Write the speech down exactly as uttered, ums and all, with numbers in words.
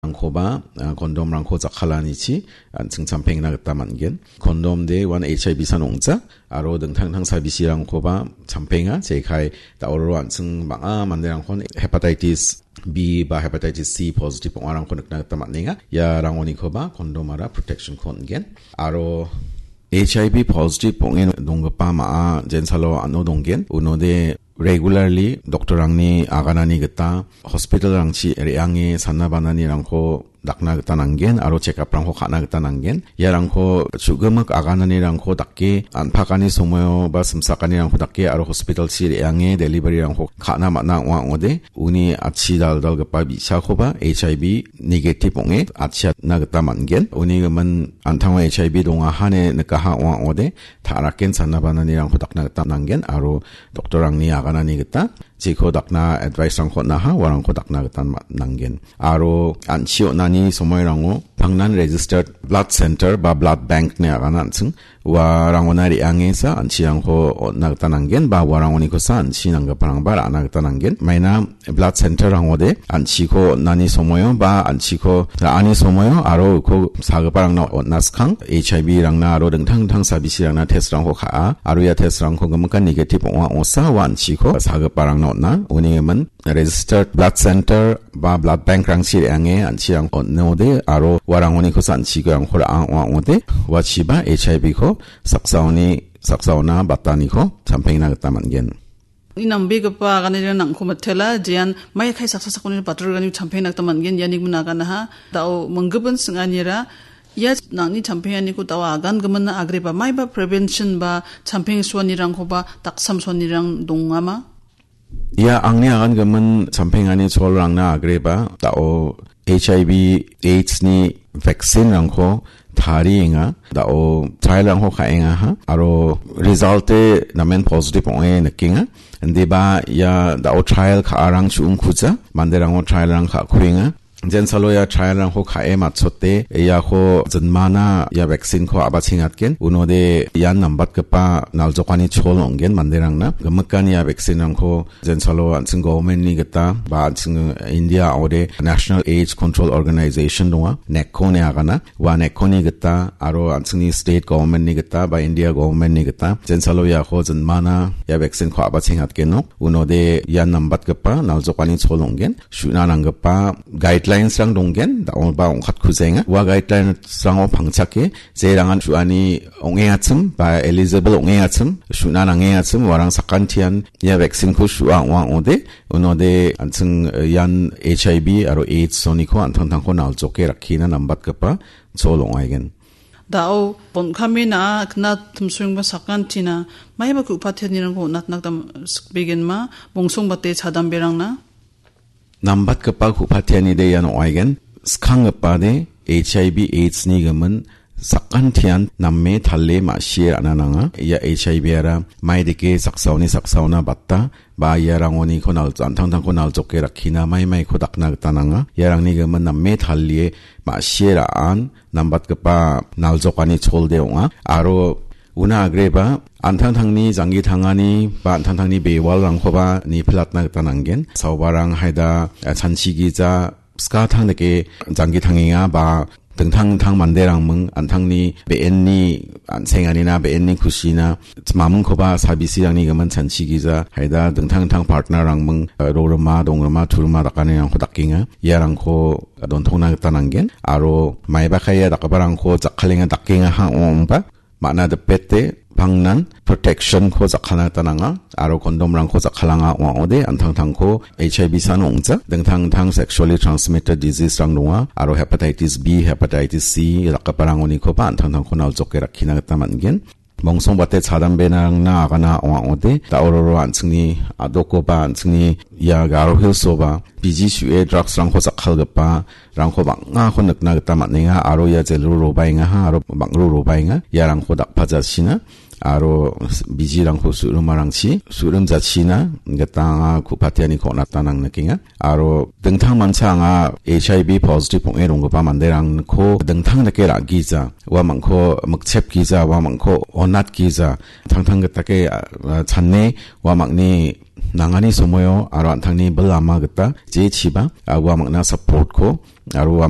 rangkoba, ah, kondomrangko jakkalanichi an·ching champengna gita man·gen. Kondom de uan H I V san ong·ja, aro dingtang dingtang sabisirangkoba champenga, jekai da·oro an·ching bang·a manderangkon hepatitis B ba hepatitis C positive ong·arangko nikna gita man·enga. Ia rangonikoba kondomara protection-ko on·gen. Aro H I V positive ong·e donggipa ma·a jensalo an·o donggen. Unode regularly doctor-rangni aganani gita hospital-rangchi re·ange sana bananirangko dakna gita nanggen aro check-up-rangko ka·na gita nanggen. Iarangko chu·gimik agananirangko dake, an·pakani somoio ba simsakanirangko dake aro hospital-chi re·ange delivery-rangko ka·na man·a ong·a ong·ode, uni atchi dal·dalgipa bi·sakoba H I V negative ong·e atchiatna gita man·gen. Uni gimin an·tango H I V dongaha ine nikaha ong·a ong·ode, ta·raken sana bananirangko dakna gita nanggen aro doctor-rangni aganani gita jeko dakna advice-rangko on·aha, uarangko dakna gita ma-, nanggen. Aro an·chi on·ani somoirango pangnan registered blood center ba blood bank-ni agana an·ching. Uarangona re·angesa an·chirangko on·na gita nanggen ba uarangonikosa an·chi nanggiparangba ra·na gita nanggen. Maina blood center-rangode an·chiko on·ani somoio ba an·chiko ra·ani somoio aro uko sagiparangna on·na skang H I V-rangna aro dingtang dingtang sabisirangna test-rangko ka·a. Aro ia test-rangko gimikan negative ong·a ong·osa ua an·chiko sagiparangna on·a. Uni gimin registered blood center ba blood bank-rangchi re·ange an·chirang on·ode aro uarangonikosa an·chiko rangko ra·a ong·a ong·ode, uachiba H I V-ko saksaoni, saksaona bataniko champengna gita man·gen. Uni nambegipa aganirang nangko mitela, jean mai kai saksa sakoni batorgani champengna gita man·gen, iani gimin aganaha, da·o minggipin singanira, ia nangni champenganiko da·o agan gimin agreba maiba prevention ba champeng suanirangkoba daksam suanirang dongama? Ia angni agan gimin champengani cholrangna agreba da·o H I V AIDS-ni vaccine-rangko tarienga, da·o trial-rangko ka·engaha, aro result-e namen positive ong·e nikenga. Indiba ia da·o trial ka·arang chu·ongkuja, manderango trial-rang ka·kuenga. Jensalo ia trial-rangko ka·e matchote, iako jinmana ia vaccine-ko a·bachengatgen. Unode ian nambatgipa naljokani chol ong·gen manderangna. Gimikan ia vaccine-rangko jensalo an·ching government-ni gita ba an·ching India ong·ode National AIDS Control Organization donga, NACO ine agana. Ua NACO-ni gita aro an·chingni state government-ni gita ba India government-ni gita jensalo iako jinmana ia vaccine-ko a·bachengatgenok. Unode ian nambatgipa naljokani chol ong·gen. Su·na nanggipa guidelines-rang donggen, da·oba ong·katkujaenga. Ua guidelines-rango pangchake, jerangan su·ani ong·engachim ba eligible ong·engachim, su·na nang·engachim, uarang sakantian ia vaccine-ko su·a ong·a ong·ode, unode an·ching, eh, ian H I V aro AIDS-oniko an·tangtangko naljoke rakkina nambatgipa chol ong·aigen. Da·o bon·kame na·a kna timsoengba sakantina maiba ku·patianirangko on·atna gita sikbegenma bongsongbate chadamberangna. Nambatgipa ku·patianide ian ong·aigen. Skanggipade H I V AIDS-ni gimin sakantian name tale ma·sie ra·na nanga. Ia H I V-ara maidike saksaoni saksaona bata ba iarangoniko nal-, an·tangtangko naljoke rakkina maimaiko dakna gita nanga. Iarangni gimin name talie ma·sie ra·an nambatgipa naljokani cholde ong·a. Aro una agreba an·tangtangni janggi tangani ba an·tangtangni bewalrangkoba nipilatna gita nanggen. Saobarang haida, eh, chanchi gija, skatang dake janggi tangenga ba dingtang dingtang manderangming an·tangni be·enni an·senganina, be·enni kusina, mamingkoba sabisirangni gimin chanchi gija, haida dingtang dingtang partner-rangming, eh, rorima, dongrima, turima dakanirangko dakenga. Iarangko dontongna gita nanggen. Aro maiba kaia dakgiparangko jakkalenga dakengaha ong·ongba, man·a dipete pangnan protection-ko jakkalna gita nanga, aro kondomrangko jakkalanga ong·a ong·ode, an·tangtangko H I V san ong·ja, dingtang dingtang sexually transmitted disease-rang donga, aro hepatitis B, hepatitis C dakgiparangonikoba an·tangtangko naljoke rakkina gita man·gen. Mongsongbate chadambenarangna agana ong·a ong·ode, da·ororo an·chingni a·dokoba, an·chingni ia Garo Hills-oba, biji su·e drugs-rangko jakkalgipa, rangko bang·ako nikna gita man·enga aro ia jelro robaengaha aro bang·ro robaenga iarangko dakpajachina aro bijirangko su·rimarangchi su·rimjachina gita anga ku·patianiko on·atan ang nikenga. Aro dingtang mancha anga H I V positive ong·e ronggipa manderangko dingtang dake ra·gija, uamangko mikchepgija, uamangko onatgija, tangtang gitake, a, a, chane uamangni nangani somoio aro an·tangni bil ama gita jechiba, a, uamangna support-ko aro uamang